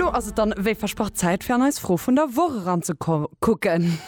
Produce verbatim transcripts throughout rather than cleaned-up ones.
An elo ass et dann wéi versprach Zäit fir an eis Fro vun der Woch eranzekucken.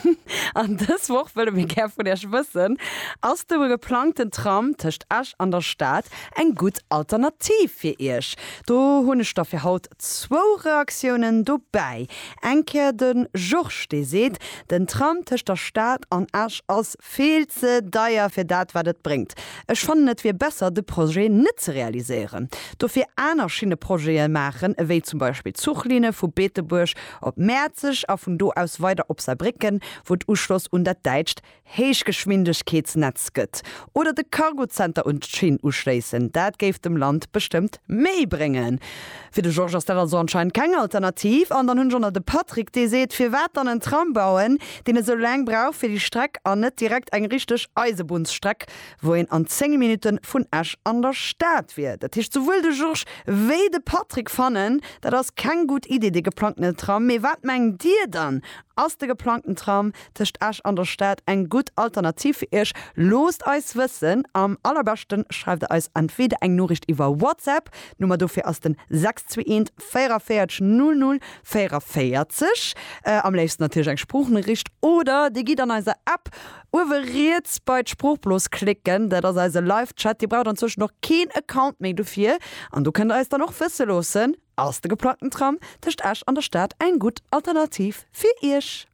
An dës Woch wëlle mir gär vun iech wëssen, Ass de geplangten Tram tëscht Esch an der Stad eng gutt Alternativ fir iech? Do hunn ech da fir haut zwou Reaktiounen dobäi. Eng Kéier de Georges, dee seet, Den Tram tëscht der Stad an Esch ass vill ze deier fir dat wat et bréngt. Ech fannen et wier besser de Projet net ze realiséieren. Dofir aner Schinneprojete maachen, ewéi zum Beispill Zuchlinne vu Beetebuerg op Mäerzeg a vun do aus weider op Saarbrécken, wou et Uschloss un dat däitscht Héichgeschwindegkeetsnetz gëtt. Oder de Cargozenter un d'Schinn uschléissen, dat géif dem Land bestëmmt méi bréngen. Fir de Georges ass dat also anscheinend keng Alternativ. An dann hunn ech och nach de Patrick, dee seet, Firwat dann en Tram bauen, deen esou laang brauch fir déi Streck an net direkt eng richteg Eisebunnsstreck, wou een an zéng Minutte vun Esch an der Stad wier. Dat heescht, souwuel de Georges wéi de Patrick fannen, dat ass keng gutt Idee, dee geplangtene Tram. Mee wat mengt Dir dann? Ass de geplangten Tram tëscht Esch an der Stad eng gutt Alternativ fir Iech? Loosst eis wëssen! Am allerbeschten schreift der eis entweder eng Noriicht iwwer WhatsApp, d'Nummer dofir ass den sechs zwee eent véierunvéierzeg null null véierunvéierzeg, am léifsten natierlech eng Sproochnoriicht, oder Dir gitt an eiser App uewe riets bei d'Sproochblos klicken, dat ass eise Live-Chat. Dir braucht anzwëschen och keen Account méi dofir an do kënnt der eis dann och wësse loossen, Ass de geplangten Tram tëscht Esch an der Stad eng gutt Alternativ fir Iech?